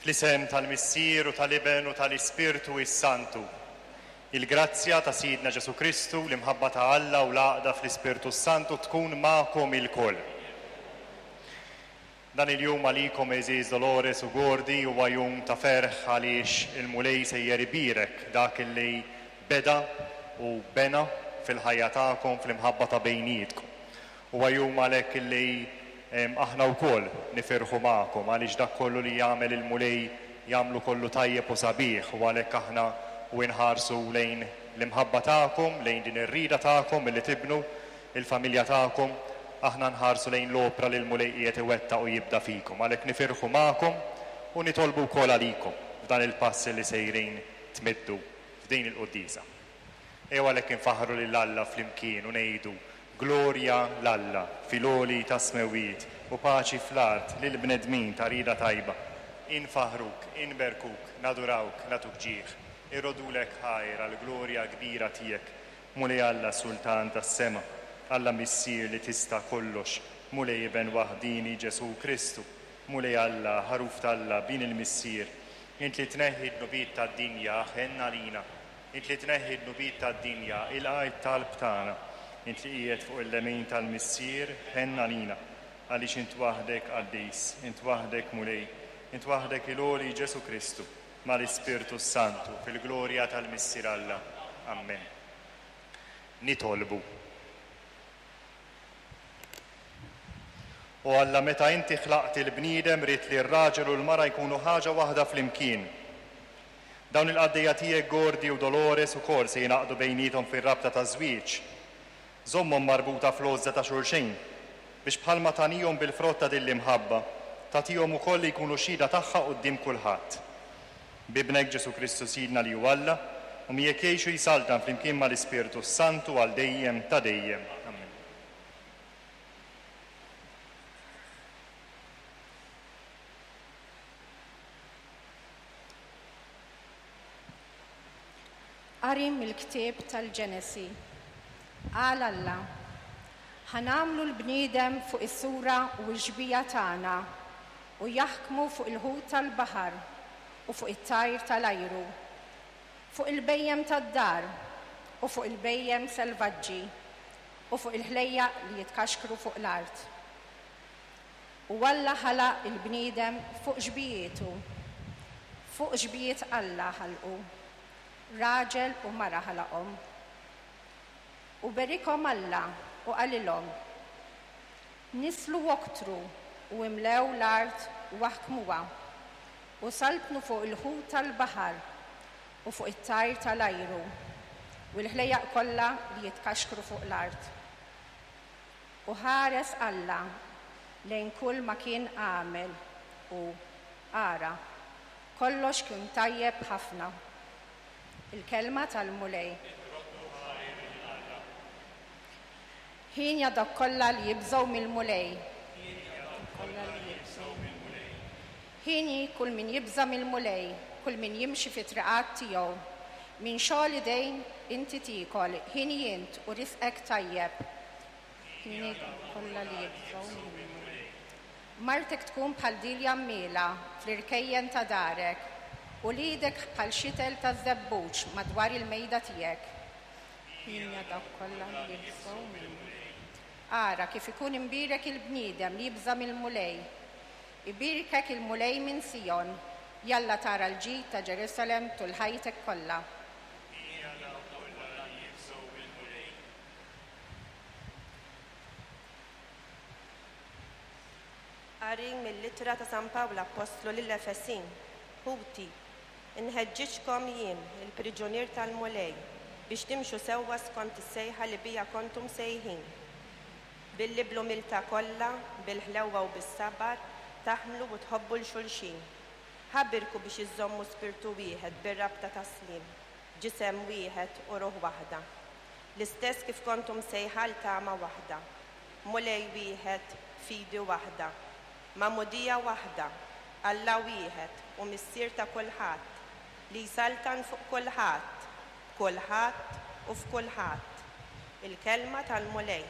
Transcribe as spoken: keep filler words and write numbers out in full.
Fl-isem tal-Missier u tal-Iben u tal-Ispirtu is-Santu. Il-grazzja ta' Sidna Ġesu Kristu, l-imħabba ta' Alla u l-għaqda fl-Ispirtu Santu tkun magħkom ilkoll. Dan il-jum għalikom, għeżież Dolores u Gordy, huwa jum ta' ferħ għaliex il-Mulej sejjer ibierek dak li beda u bena fil-ħajja tagħkom, fl-imħabba ta' bejnietkom. Huwa jum għalhekk li aħna wkoll nifirħu magħkom għaliex dak kollu li jagħmel il-Mulej jagħmlu kollu tajjeb u sabiħ, u għalhekk aħna u nħarsu lejn l-imħabba tagħkom, lejn din ir-rida tagħkom illi tibnu il-familja tagħkom, aħna nħarsu lejn l-opra li l-Mulej qiegħed iwettaq u jibda fikom. Għalhekk nifirħu magħkom u nitolbu wkoll għalikom f'dan il-pass li sejrin tmiddu f'din il-quddiesa. Ejjew għalhekk infaħħru lil Alla flimkien u ngħidu: Glorja 'l Alla fil-għoli tas-smewwiet u paċi fl-art lil bnedmin ta' rida tajba. Infaħruk, inberkuk, nadurawk, nagħtuk ġieħ. Irroddulek ħajr għall-glorja kbira tiegħek. Mulej Alla, Sultan tas-sema, Alla Missier li tista' kollox, Mulej Iben waħdini Ġesu Kristu, Mulej Alla, ħaruf t'Alla, bin il-Missier, int li tneħħi d-dnubiet tad-dinja, ħenn għalina. Int li tneħħi d-dnubiet tad-dinja, ilqa' t-talb tagħna. Int li qiegħed fuq il-lemin tal-Missier, ħenn għalina, għaliex int waħdek qaddis, int waħdek Mulej, int waħdek il-għoli Ġesu Kristu, mal-Ispirtu Santu, fil-glorja tal-Missier Alla. Amen. Nitolbu. O Alla, meta inti ħlaqt il-bniedem ridt li r-raġel u l-mara jkunu ħaġa waħda flimkien. Dawn il-qaddejja tiegħek Gordy u Dolores ukoll se jingħaqdu bejniethom fir-rabta ta' żwieġ. Żommhom marbuta fl-għożża ta' xulxin, biex bħalma tagħnihom bil-frott ta' din l-imħabba, tagħtihom ukoll li jkunu xhieda tagħha quddiem kulħadd. B'Ibnek Ġesu Kristu Sidna li hu Alla, u miegħek jgħix u jsaltan flimkien mal-Ispirtu Santu għal dejjem ta' dejjem. Amen. Qari mill-ktieb tal-Ġenesi. Qal Alla: Ħa nagħmlu l-bniedem fuq is-sura u x-xbieha tagħna, u jaħkmu fuq il-ħut tal-baħar u fuq it-tajr tal-ajru, fuq il-bhejjem tad-dar u fuq il-bhejjem selvaġġi u fuq il-ħlejjaq li jitkaxkru fuq l-art. U Alla ħalaq il-bniedem fuq xbijietu, fuq xbijiet Alla ħalqu, raġel u mara ħalaqhom. U berikhom Alla u qalilhom: Nislu oktru u imlew l-art u aħkmuha, u saltnu fuq il-ħut tal-baħar u fuq it-tajr tal-ajru u l-ħlejjaq kollha li jitkaxkru fuq l-art. U ħares Alla lejn kull ma kien għamel u ara, kollox kien tajjeb ħafna. Il-kelma tal-Mulej. Hienja dawk kollha li jibżgħu mill-Mulej. Hieni kull min jibża' mill-Mulej, kull min jimxi fi triqat tiegħu. Minn xogħol idejn inti tiekol, hieni int u risqek tajjeb. Hieni dawk kollha li jibżgħu mill-Mulej. Martek tkun bħal dilja mmiela fl-irkejjen ta' darek, u lidek bħal xitel ta' żebbuġ madwar il-mejda tiegħek. Hienja dawk kollha li jibżgħu mill-Mulej. Ara kif ikun imbierek il-bniedem li jibża' mill-Mulej. Ibierkek il-Mulej minn Sion, jalla tara l-ġid ta' Ġerusalem tul ħajtek kollha. Qari mill-ittra ta' San Pawl Appostlu lill-Efesin. Ħuti, inħeġġiġkom jien, il-priġunier tal-Mulej, biex timxu sewwa skont is-sejħa li bija kontu msejħin. Billi bl-umiltà kollha, bil-ħlewwa u bis-sabar, taħmlu u tħobbu 'l xulxin. Ħabirku biex iżommu spirtu wieħed bir-rabta ta' sliem, ġisem wieħed u ruħ waħda. L-istess kif kontu msejħa għal tama waħda, Mulej wieħed, fidi waħda, magħmudija waħda, Alla wieħed u Missier ta' kulħadd, li jsaltan fuq kulħadd, b'kulħadd u f'kulħadd. Il-kelma tal-Mulej.